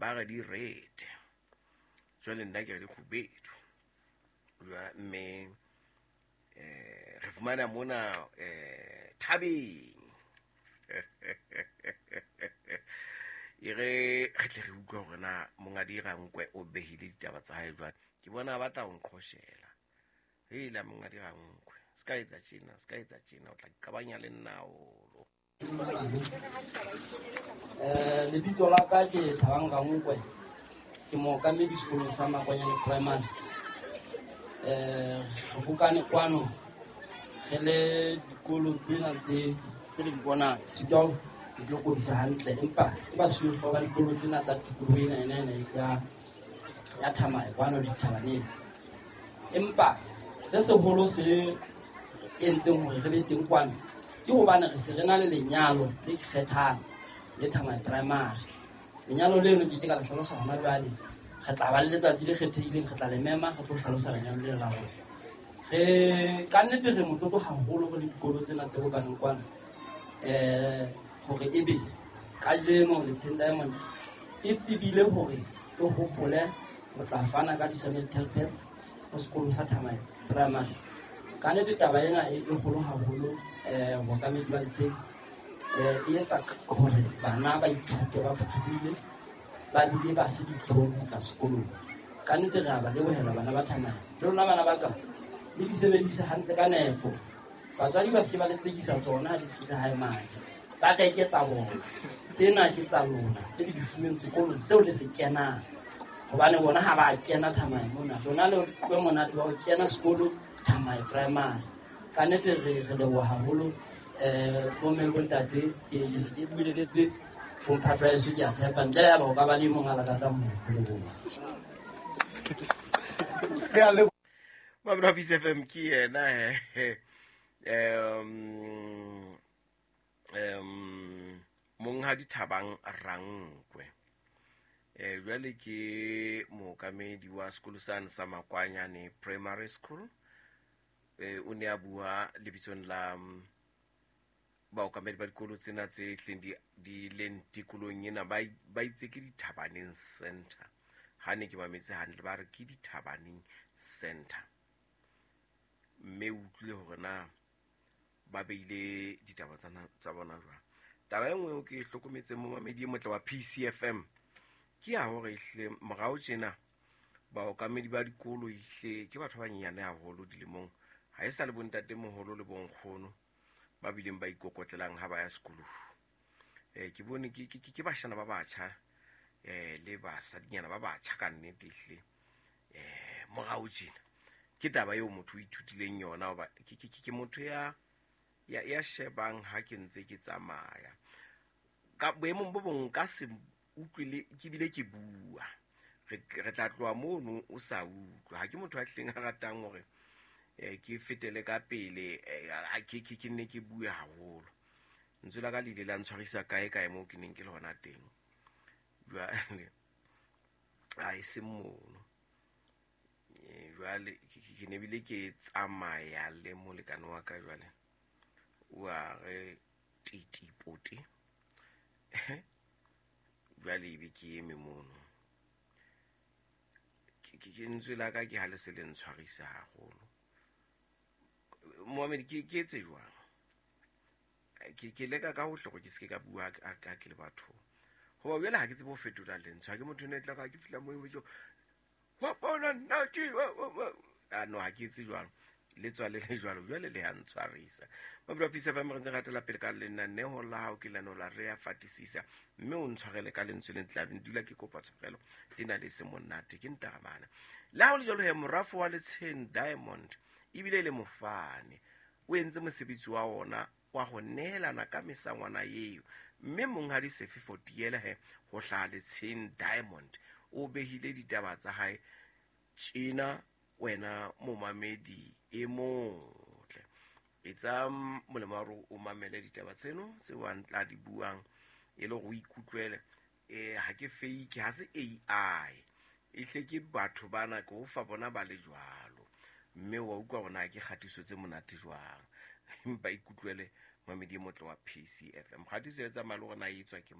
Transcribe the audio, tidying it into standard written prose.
Ba re di red, jwale nna ke re di kgubedu. Mme re fumana mona thabeng. E re re tle re utlwe hore na mongadi Rankwe o behile ditaba tsa hae jwang. Ke bona a batla ho nqhoshela. Hela mongadi Rankwe, se ka etsa tjena, se ka etsa tjena, o tla qabanya le nna haholo. Lebitso la ka ke Thabang Rankwe, ke mookamedi sekolong sa Makwanyane Primary. Re bokane kwano re le dikolo tsena tse le di bonang, sitwa ho di lokodisa hantle, empa ke basuwehlooho ba dikolo tsena tsa tikoloho ena ena ena ya Thamae kwano dithabaneng. Empa se seholo se entseng hore re be teng kwano ke hobane re se re na le lenyalo le ikgethang le Thamae Primary. Lenyalo leno ke ke ka le hlalosa hona jwale, re tla ba le letsatsi le kgethehileng, re tla le mema, re tlo hlalosa lenyalo lena la rona. Re ka nnete re motlotlo haholo re le dikolo tsena tse bokaneng kwano, hore ebe kajeno Letsheng Diamond e tsebile hore e hopole ho tla fana ka di-sanitary pads ho sekolo sa Thamae Primary. Ka nnete taba ena e kgolo haholo, bookamedi ba Letsheng, e etsa hore bana ba ithute ba phuthulohile, ba bile ba se ditlhong ho tla sekolong. Ka nnete re a ba lebohela bana ba Thamae. Le lona bana ba ka, le di sebedise hantle ka nepo. Batswadi ba se ba le tsekisa tsona ha di fihla hae mane. Ba reke tsa bona. Tsena ke tsa lona, tse le di fuweng sekolong seo le se kenang. Hobane bona ha ba kena Thamae mona, lona le utlwe monate wa ho kena sekolo Thamae Primary. Ka nnete re leboha haholo, bomme le bontate, ke se ke bueletse bomphato wa heso, ke a tshepa ntle le haeba ho ka ba le e mong a lakatsang ho leboha. Mamelo wa Peace FM ke yena monghadi Thabang Rankwe. Jwale ke mookamedi wa sekolo sane sa Makwanyane Primary School. O ne a bua lebitsong la baokamedi ba dikolo tsena tse hleng di leng tikolong ena, ba itse ke Dithabaneng Center. Ha ne ke mametse hantle ba re ke Dithabaneng Center. Mme o utlwile hore na ba beile ditaba tsa bona jwang. Taba e nngwe eo ke e hlokometseng momamedi e motle wa PCFM ke ya hore ehlile morao tjena baokamedi ba dikolo ehlile ke batho ba banyenyane haholo dilemong, ha e sa le bontatemoholo le bonkgono ba bileng ba ikokotlelang ha ba ya sekolong. Ke bone ke bashana ba batjha, le basadinyana ba batjha ka nnete ehlile. Morao tjena ke taba eo motho o ithutileng yona, hoba ke motho ya shebang ha ke ntse ke tsamaya. Ka boemong bo bong nka se utlwe le ke bile ke bua. Re tla tloha mono o sa utlwa. Ha ke motho a hlileng a ratang hore ke fetele ka pele, ke nne ke bue haholo. Lentswe la ka le ile la ntshwarisa kae kae moo ke neng ke le hona teng. Jwale ha e se mono. Jwale ke ne bile ke tsamaya le molekane wa ka jwale. Wa re titipote. Jwale ebe ke eme mono. Ke lentswe la ka ke ha le se le ntshwarisa haholo. Mohammed, ke etse jwang? Ke leka ka hohle hore ke se ke ka bua ha ke le bathong. Hoba jwale ha ke tsebe ho fetola lentswe. Ha ke motho ene tla ka ke fihla moo ke wa bona nna ke wa, wa, wa. Ah, no, ha ke etse jwalo. Le tswa le le jwalo, jwale le ya ntshwarisa. Mabelo a Peace FM re ntse re hatela pele ka lenaneo la hao ke lenaneo la Re a Fatisisa. Mme o ntshwarele ka lentswe le tla dula ke kopa tshwarelo le na le se monate ke ntaramana. Le ha ho le jwalo he, morafo wa Letsheng Diamond ebile le mofane o entse mosebetsi wa ona wa ho nehelana ka mesangwana eo. Mme monghadi Sefe Fotiele he ho hlaha Letsheng Diamond o behile ditaba tsa hae tjena wena momamedi e motle. Etsa molemo wa hore o mamele ditaba tseno tseo a tla di buang e le hore o ikutlwele. Ha ke fake, ha se AI. Ehle ke batho bana ke o fa bona ba le jwalo. Mme wa utlwa hore na ke kgatiso tse monate jwang. Empa ikutlwele mamedi e motle wa PCFM. Kgatiso e tsamaya le hore na e etswa ke mang.